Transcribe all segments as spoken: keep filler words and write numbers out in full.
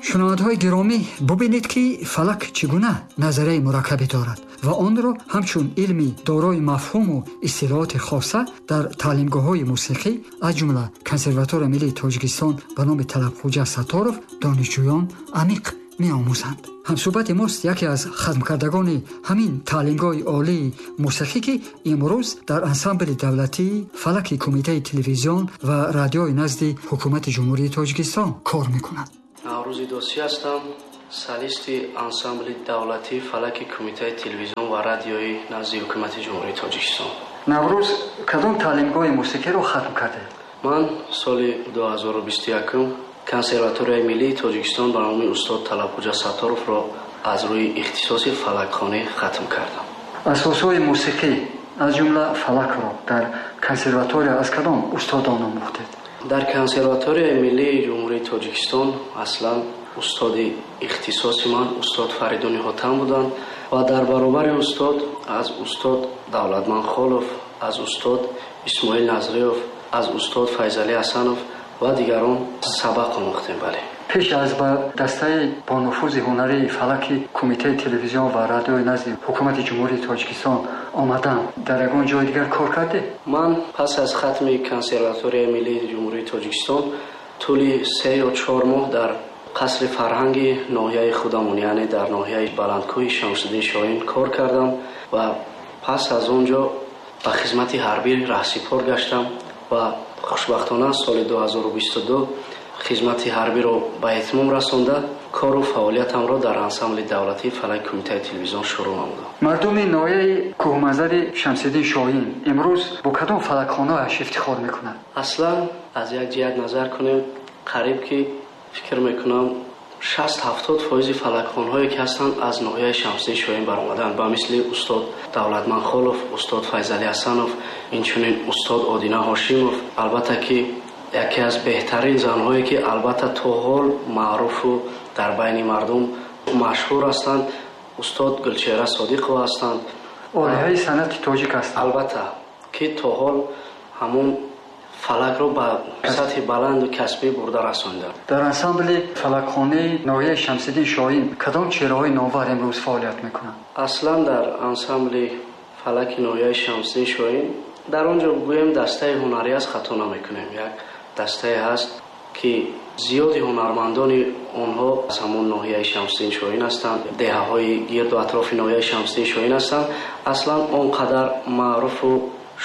Шунавандаҳои гиромӣ, бубинед, ки фалак чӣ гуна назарияи мураккабе дорад ва онро ҳамчун илми дорои мафҳуму истилоҳоти хоса дар таълимгоҳҳои мусиқӣ, аз ҷумла Консерваторияи миллии Тоҷикистон ба номи Талабхӯҷа Сатторов, донишҷӯён амиқ меомӯзанд. Ҳамсӯҳбати мост яке аз хатмкардагони ҳамин таълимгоҳи олии мусиқӣ, ки имрӯз дар ансамбли давлатии фалаки Кумитаи телевизион ва радиои назди Ҳукумати Ҷумҳурии Тоҷикистон кор мекунад. Наврӯзи Досӣ ҳастам, солисти ансамбли давлатии фалаки Кумитаи телевизион ва радиои назди Ҳукумати Ҷумҳурии Тоҷикистон. Наврӯз, кадом таълимгоҳи мусиқиро хатм кардед? Ман соли ду ҳазору бисту якум Консерваторияи миллии Тоҷикистон ба номи устод Талабхӯҷа Сатторовро аз рӯи ихтисоси фалакхонӣ хатм кардам. Асосҳои мусиқӣ, аз ҷумла фалакро, дар консерватория аз кадом устодон омӯхтед? Дар Консерваторияи миллии Ҷумҳурии Тоҷикистон аслан устоди ихтисоси ман устод Фаридуни Ҳотам буданд ва дар баробари устод аз устод Давлатман Холов, аз устод Исмоил Назриёв, аз устод Файзалӣ Ҳасанов ва дигарон сабақ омӯхтем, бале. Пеш аз ба дастаи бонуфузи ҳунарии фалаки Кумитаи телевизион ва радиои назди Ҳукумати Ҷумҳурии Тоҷикистон омадан, дар ягон ҷои дигар кор кардед? Ман пас аз хатми Консерваторияи миллии Ҷумҳурии Тоҷикистон тӯли се ё чор моҳ дар қасри фарҳанги ноҳияи худамон, яъне дар ноҳияи Баландкӯҳи Шамсиддин Шоҳин кор кардам ва пас аз он ҷо ба хизмати ҳарбӣ раҳсипор гаштам ва хушбахтона соли ду ҳазору бисту ду хизмати ҳарбиро ба итмом расонда, кору фаъолиятамро дар ансамбли давлатии фалаки Кумитаи телевизион шурӯъ намудам. Мардуми ноҳияи кӯҳманзари Шамсиддин Шоҳин имрӯз бо кадом фалакхонааш ифтихор мекунад? Аслан аз як ҷиҳат назар кунем, қариб ки фикр мекунам, шаст ҳафтод фоизи фалакхонҳое ки ҳастанд, аз ноҳияи Шамсиддин Шоҳин баромаданд, ба мисли устод Давлатман Холов, устод Файзалӣ Ҳасанов, инчунин устод Одина Ҳошимов. Албатта ки яке аз беҳтарин занҳое ки албатта то ҳол маъруфу дар байни мардум машҳур ҳастанд, устод Гулчеҳра Содиқова ҳастанд. Олиҳаи санъати тоҷик ҳастанд. Албатта ки то ҳол ҳамун фалакро ба сатҳи баланду касбӣ бурда расонданд. Дар ансамбли фалакхонаи ноҳияи Шамсиддин Шоҳин кадом чеҳраҳои номвар имрӯз фаъолият мекунанд? Аслан дар ансамбли фалаки ноҳияи Шамсиддин Шоҳин, дар он ҷо гӯем дастаи ҳунарӣ аст, хато намекунем. Як дастае ҳаст, ки зиёди ҳунармандони онҳо аз ҳамон ноҳияи Шамсиддин Шоҳин ҳастанд, деҳаҳои гирду атрофи ноҳияи Шамсиддин Шоҳин ҳастанд. Аслан он қадар маъруфу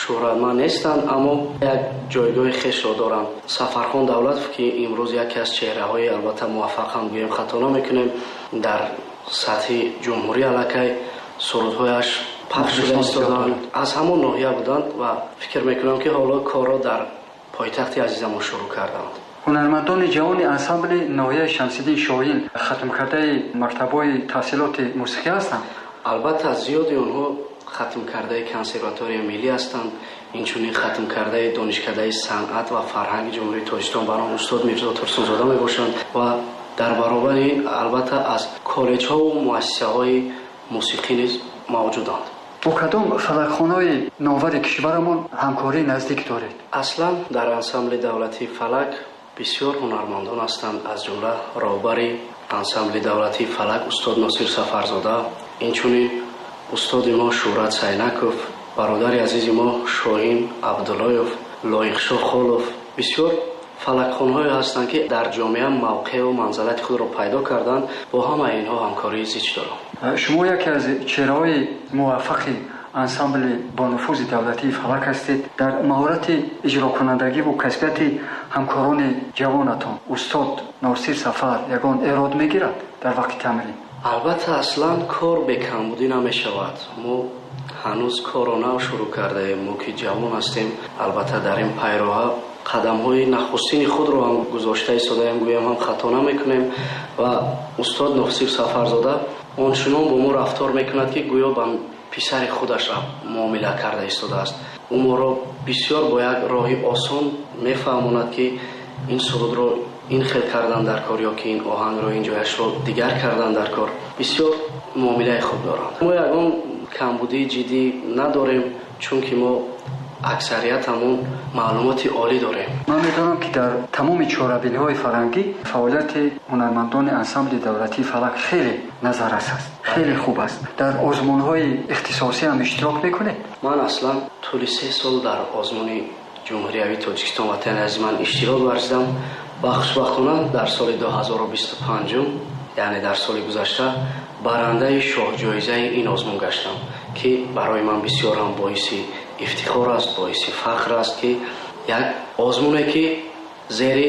шӯҳратманд нестанд, аммо як ҷойгоҳи хешро доранд. Сафархон Давлатов, ки имрӯз яке аз чеҳраҳои албатта муваффақ ҳам гӯем, хато намекунем, дар сатҳи ҷумҳурӣ аллакай сурудҳояш пахш шуда истоданд, аз ҳамон ноҳия буданд ва фикр мекунам, ки ҳоло корро дар пойтахти азизамон шурӯъ карданд. Ҳунармандони ҷавони ансамбли ноҳияи Шамсиддин Шоҳин хатмкардаи мактабҳои таҳсилоти мусиқӣ ҳастанд? Албатта, зиёди онҳо хатмкардаи Консерваторияи миллӣ ҳастанд, инчунин хатмкардаи Донишкадаи санъат ва фарҳанги Ҷумҳурии Тоҷикистон ба номи устод Мирзо Турсунзода мебошанд ва дар баробари ин албатта аз коллеҷҳову муассисаҳои мусиқӣ низ мавҷуданд. Бо кадом фалакхонаҳои номвари кишварамон ҳамкории наздик доред? Аслан дар ансамбли давлатии фалак бисёр ҳунармандон ҳастанд, аз ҷумла роҳбари ансамбли давлатии фалак устод Носир Сафарзода, инчунин устоди мо Шӯҳрат Сайнаков, бародари азизи мо Шоҳин Абдуллоев, Лоиқшоҳ Холов. Бисёр фалакхонҳое ҳастанд, ки дар ҷомеа мавқеъу манзалати худро пайдо карданд. Бо ҳамаи инҳо ҳамкории зич дорам. Шумо яке аз чеҳраҳои муваффақи ансамбли бонуфузи давлатии фалак ҳастед. Дар маҳорати иҷрокунандагиву касбияти ҳамкорони ҷавонатон устод Носир Сафар ягон эрод мегирад дар вақти тамрин? Албатта, аслан кор бекамбудӣ намешавад. Мо ҳанӯз корро нав шурӯъ кардаем. Мо ки ҷавон ҳастем, албатта дар ин пайроҳа қадамҳои нахустини худро ҳам гузошта истодаем, гӯем ҳам хато намекунем. Ва устод Носир Сафарзода ончунон бо мо рафтор мекунад, ки гӯё ба писари худаш муомила карда истодааст. Ӯ моро бисёр бо як роҳи осон мефаҳмонад, ки ин сурудро ин хел кардан дар кор ё ки ин оҳангро ин ҷояшро дигар кардан дар кор. Бисёр муомилаи хуб доранд. Мо ягон камбудии ҷиддӣ надорем, чунки мо Аксариятамон маълумоти олӣ дорем. Ман медонам, ки дар тамоми чорабиниҳои фарҳангӣ фаъолияти ҳунармандони ансамбли давлатии «Фалак» хеле назаррас аст, хеле хуб аст. Дар озмунҳои ихтисосӣ ҳам иштирок мекунед? Ман аслан тӯли се сол дар озмуни ҷумҳуриявии Тоҷикистон «Ватани азизи ман» иштирок варзидам ва хушбахтона дар соли ду ҳазору бисту панҷум, яъне дар соли гузашта, барандаи шоҳҷоизаи ин озмун гаштам, ки барои ман бисёр ҳам боиси ифтихор аст, боиси фахр аст, ки як озмуне, ки зери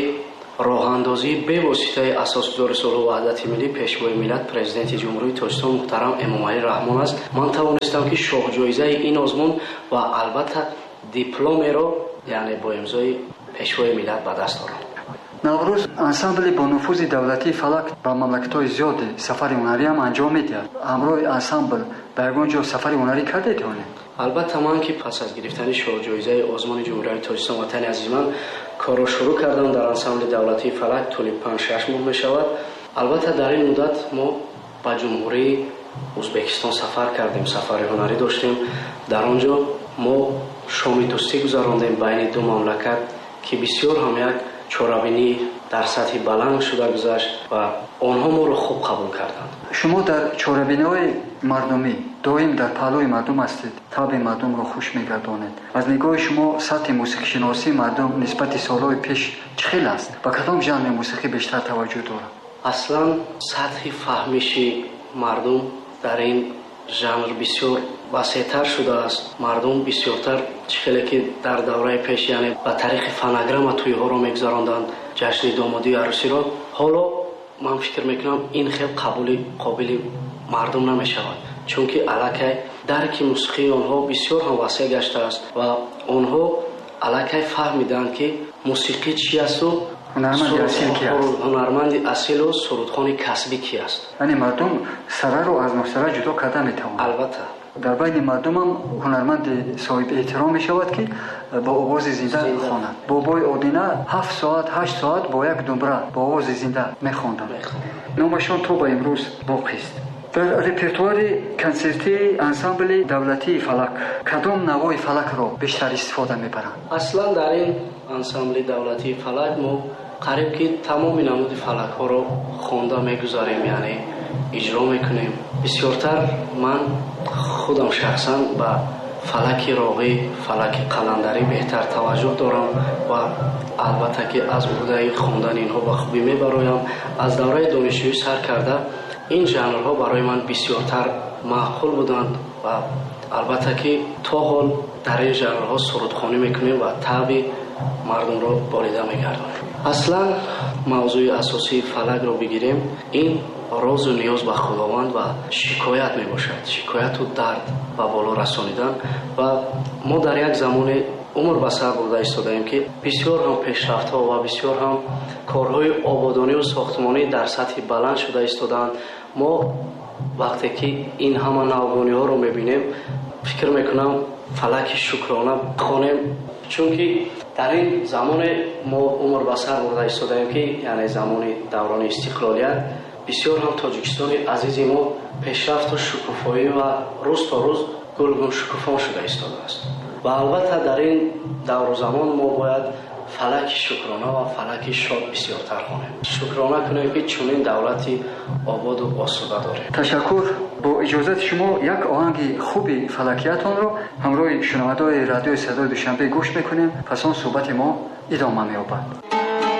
роҳандозии бевоситаи асосгузори сулҳу ваҳдати миллӣ, Пешвои миллат, Президенти Ҷумҳурии Тоҷикистон муҳтарам Эмомалӣ Раҳмон аст, ман тавонистам, ки шоҳҷоизаи ин озмун ва албатта дипломеро, яъне бо имзои Пешвои миллат, ба даст орам. Наврӯз, ансамбли бонуфузи давлатии «Фалак» ба мамлакатҳои зиёде сафари ҳунариам анҷом медиҳад. Ҳамроҳи ансамбл ба ягон ҷо сафари ҳунарӣ кардед ё не? Албатта, ман ки пас аз гирифтани шоҳҷоизаи озмуни ҷумҳуриявии Тоҷикистон «Ватани азизи ман» корро шурӯъ кардам дар ансамбли давлатии «Фалак», тӯли панҷ шаш моҳ мешавад. Албатта, дар ин муддат мо ба Ҷумҳурии Ӯзбекистон сафар кардем, сафари ҳунарӣ доштем. Дар он ҷо мо шоми дӯстӣ гузарондем байни ду мамлакат, ки бисёр ҳам як чорабинӣ дар сатҳи баланд шуда гузашт ва онҳо моро хуб қабул карданд. Шумо дар чорабиниҳои мардумӣ доим дар паҳлӯи мардум ҳастед, табъи мардумро хуш мегардонед. Аз нигоҳи шумо, сатҳи мусиқишиносии мардум нисбати солҳои пеш чӣ хел аст? Ба кадом жанри мусиқӣ бештар таваҷҷӯҳ дорад? Аслан сатҳи фаҳмиши мардум дар ин жанр бисёр васеътар шудааст. Мардум бисёртар, чӣ хеле ки дар давраи пеш, яъне ба тариқи фонограмма тӯйҳоро мегузаронданд, ҷашни домодию арӯсиро, ҳоло ман фикр мекунам, ин хел қабули қобили мардум намешавад, чунки аллакай дарки мусиқии онҳо бисёр ҳам васеъ гаштааст ва онҳо аллакай фаҳмиданд, ки мусиқӣ чи асту ҳунарманди асил ки аст, ҳунарманди асилу сурудхони касбӣ ки аст. Яъне мардум сараро аз носара ҷудо карда метавонад? Албатта. Дар байни мардумам ҳунарманди соҳиби эҳтиром мешавад, ки бо овози зинда хонад. Бобои Одина ҳафт соат, ҳашт соат бо як думбра бо овози зинда мехонданд, номашон то ба имрӯз боқист. Дар репертуари консертии ансамбли давлатии «Фалак» кадом навои фалакро бештар истифода мебаранд? Аслан дар ин ансамбли давлатии «Фалак» мо қариб ки тамоми намуди фалакҳоро хонда мегузарем, яъне иҷро мекунем. Бисёртар ман худам шахсан ба фалаки роғӣ, фалаки қаландарӣ беҳтар таваҷҷӯҳ дорам ва албатта ки аз уҳдаи хондани инҳо ба хубӣ мебароям. Аз давраи донишҷӯӣ сар карда ин жанрҳо барои ман бисёртар маъқул буданд ва албатта ки то ҳол дар ин жанрҳо сурудхонӣ мекунем ва табъи мардумро болида мегардонем. Аслан мавзӯи асосии фалакро бигирем, ин розу ниёз ба Худованд ва шикоят мебошад, шикояту дард ба боло расонидан. Ва мо дар як замоне умр ба сар бурда истодаем, ки бисёр ҳам пешрафтҳо ва бисёр ҳам корҳои ободониву сохтмонӣ дар сатҳи баланд шуда истодаанд. Мо вақте ки ин ҳама навгониҳоро мебинем, фикр мекунам, фалаки шукрона хонем, чунки дар ин замоне мо умр ба сар бурда истодаем, ки яъне замони даврони истиқлолият, бисёр ҳам Тоҷикистони азизи мо пешрафту шукуфоӣ ва рӯз то рӯз гулгун шукуфон шуда истодааст. Ва албатта дар ин давру замон мо бояд фалаки шукрона ва фалаки шод бисёртар хонем, шукрона кунем, ки чунин давлати ободу осуда дорем. Ташаккур. Бо иҷозати шумо як оҳанги хуби фалакиятонро ҳамроҳи шунавандаои радиои Садои Душанбе гӯш мекунем, пас он суҳбати мо идома меёбад.